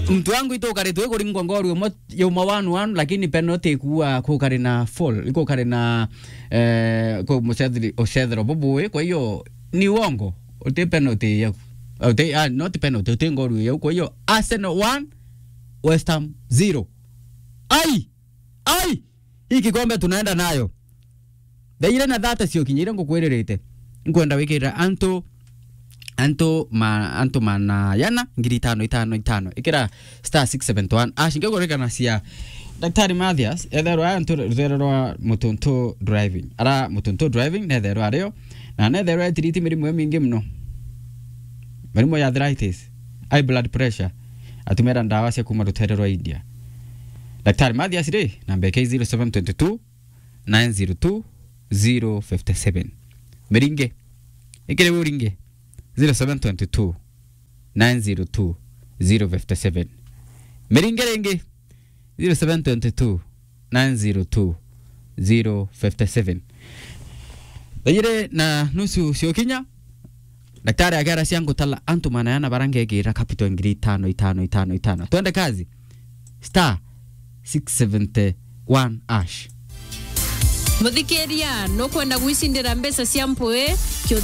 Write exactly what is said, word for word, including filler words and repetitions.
Mtu wangu, itukari twi kuringwa ngoru yumwe, yumwe one one, lakini penalty ikua kukari na foul, ikukari na, eh, ku mucetheri-, ucethero bubui. Kwa hiyo ni uongo, uti penalty yau. Uti, ah, not penalty, uti ngoru yau. Kwa hiyo Arsenal one, West Ham zero. Ai! Ai! Hii kikombe tunaenda nayo. Thaa ire na thate cio kinya ire ngukwiririte. Nkwenda wikirira antu, antu ma-, antu mana yana ngiri itano, itano, itano. Ikira star six seven one hash. Ngikuririkanacia Daktari Mathias, etherwa antu ruthere rwa Mutuntu Driving. Ara Mutuntu Driving, netherwa ario, na netherwa etiriti mirimu imingi muno. Mirimu ya arthritis, high blood pressure, atumira ndawa cia kuma ruthere rwa India. Daktari Mathias ri, namba yake zero seven twenty two, nine zero two, zero fifty seven. Miringe. Ikire uringe. Zero seven twenty two, nine zero two, zero fifty seven. Miringe ringi. Zero seven twenty two, nine zero two, zero fifty seven. Thaa ire na nusu cio kinya, daktari akera cia ngutala antu mana yana bara ngekira capital ngiri itano, itano, itano, itano. Twende kazi. Star six seventy one hash. Muthikiria, nukwenda gwicindira mbeca cia mpui? Kio